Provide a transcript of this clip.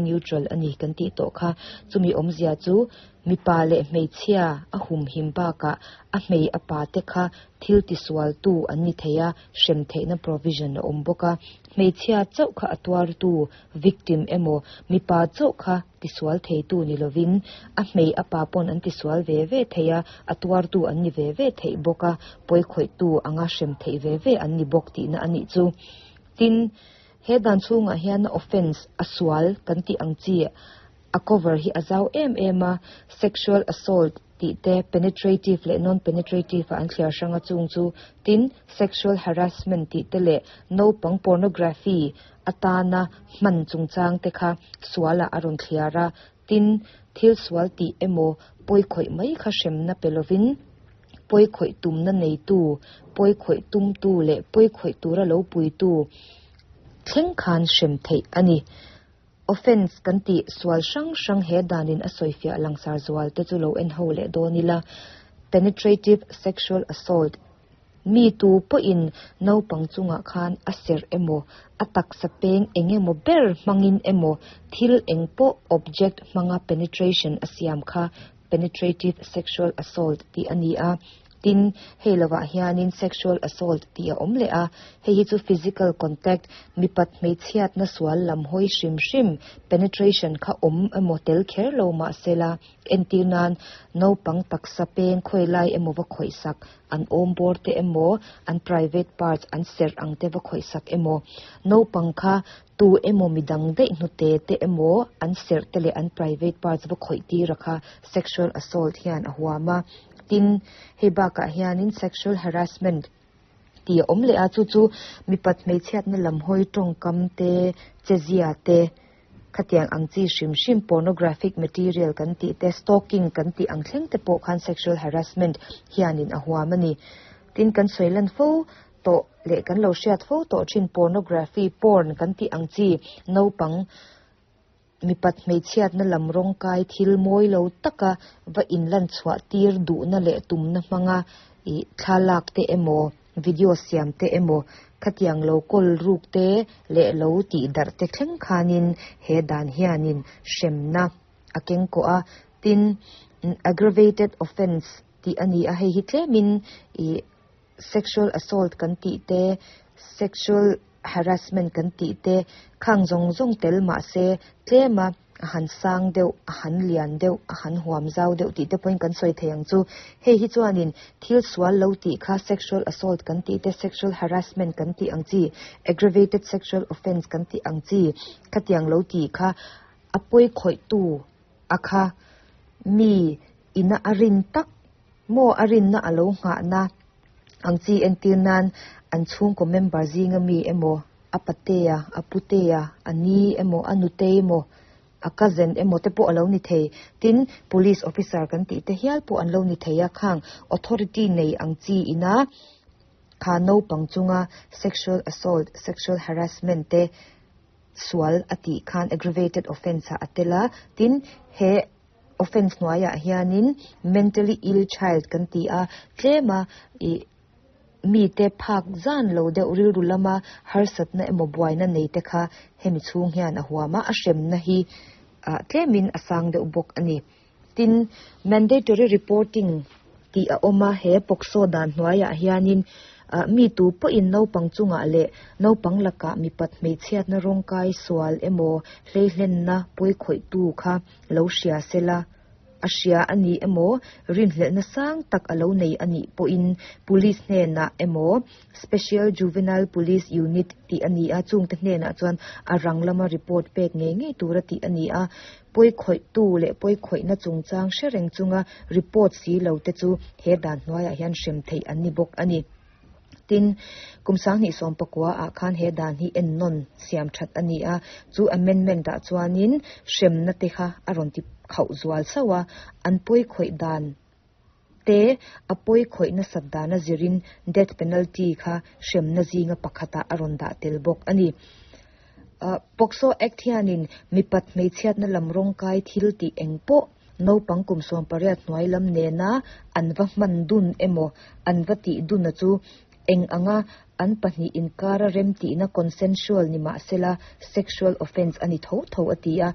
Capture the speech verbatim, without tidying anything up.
Neutral ani kan tih tawh kha. Chumi awmzia chu mipa leh hmeichhia a humhim bakah a hmei a pa te kha thil tisual tu an ni thei a, hrem theihna provision a awm bawk a. Hmeichhia chauh kha a tuar tu victim emaw mipa chauh kha tisual thei tu ni lovin a hmei a pa pawn an tisual ve ve thei a, a tuar tu an ni ve ve theih bawk a, pawi khawih tu anga hrem theih ve ve an ni bawk tihna anih chu. Tin, he dan chhungah hian offence a sual kan tih ang chi a cover hi a zau em em a. Sexual assault tih te, penetrative leh non penetrative a an thliar hranga chung chu. Tin, sexual harassment tih te leh naupang pornography atana hman chungchang te kha sualah a rawn thliar a. Tin, thil sual tih emaw pawi khawih mai kha hremna pe lovin pawi khawih tumna neitu, pawi khawih tumtu leh pawi khawih tura lo puitu thleng khan hrem theih ani. Offence kan tih sual hrang hrang he danin a sawifiah langsar zual te chu lo en ho leh dawn ila. Penetrative sexual assault: mi tu pawhin naupang chungah khan a serh emaw a taksa peng engemaw ber hmangin emaw thil engpawh object hmanga penetration a siam kha penetrative sexual assault tih ani a. Tin, hei lovah hianin sexual assault tih a awm leh a. Hei hi chu physical contact, mipat hmeichhiatna sual lam hawi hrim hrim, penetration kha awm emaw tel kher lo mahsela, entir nan naupang taksa peng khawi lai emaw va khawih sak, an awm bawr te emaw an private parts, an serh ang te va khawih sak emaw, naupang kha tu emaw midang daih hnute te emaw an serh te leh an private parts va khawih tir a kha sexual assault hian a huam a. Tin, hei bakah hianin sexual harassment tih a awm leh a. Chu chu mipat hmeichhiatna lam hawi tawngkam te, chezia te, khatiang ang chi hrim hrim, pornographic material kan tih te, stalking kan tih ang thleng te pawh khan sexual harassment hianin a huam ani. Tin, kan sawilan fo tawh leh kan lo hriat fo tawh thin pornography, porn kan tih ang chi, naupang mipat hmeichhiatna lam rawng kai thil mawi lo taka va inlan chhuah tir duhna leh tumna hmanga ih thlalak te emaw video siam te emaw khatiang lo kawl ruk te leh lo tih darh te thleng khanin he dan hianin hremna a keng kawh a. Tin, aggravated offence tih ani a. Hei hi tlemin ih sexual assault kan tih te, sexual harassment kan tih te khang zawng zawng tel mahse tlema a han sang deuh, a han lian deuh, a han huam zau deuh tih te pawhin kan sawi thei ang chu. Hei hi chuanin thil sual lo tih kha, sexual assault kan tih te, sexual harassment kan tih ang chi, aggravated sexual offence kan tih ang chi khatiang lo tih kha a pawi khawih tu a kha mi ina a rin tak maw a rinna alo nghah na ang chi, entir nan an chhungkaw member zinga mi emaw, a patea, a putea, a ni emaw, a nute emaw, a cousin emaw te pawh alo ni thei. Tin, police officer kan tih te hial pawh an lo ni thei a. Khang authority nei ang chi ina kha naupang chunga sexual assault, sexual harassment te sual atih khan aggravated offence ah a tel a. Tin, he offence hnuaiah hianin mentally ill child kan ti a, tlema ih mi te phak zan lo deuh, rilru lama harsatna emaw buaina nei te kha hemi chhung hian a huam a, a hremna hi ah tlemin a sang deuh bawk ani. Tin, mandatory reporting tih a awm a. He POCSO dan hnuaiah hianin mi tu pawhin naupang chungah leh naupang lakah mipat hmeichhiatna rawngkai sual emaw hleihlenna pawi khawih tu kha lo hria sela, a hria ani emaw rinhlelhna sang tak alo nei anih pawhin police hnenah emaw Special Juvenile Police Unit tih ani a, chungte hnenah chuan a rang lama report pek ngei ngei tura tih ani a. Pawi khawih tu leh pawi khawihna chungchang hre reng chunga report si lo te chu he dan hnuaiah hian hrem theih an ni bawk ani. Tin, kum sanghnih sawm pakua ah khan he dan hi en nawn siam that ani a. Chu amendment ah chuanin hremna te kha a rawn ti khauh zual sauh a, an pawi khawih dan te, a pawi khawihna sat dana zirin death penalty kha hremna zinga pakhatah a rawn dah tel bawk ani. POCSO Act hianin mipat hmeichhiatna lam rawngkai thil tih engpawh naupang kum sawm pariat hnuai lam nena an va hman dun emaw an va tih dun a chu eng anga an pahnih inkara rem tihna consensual ni mahsela sexual offence ani tho tho a ti a.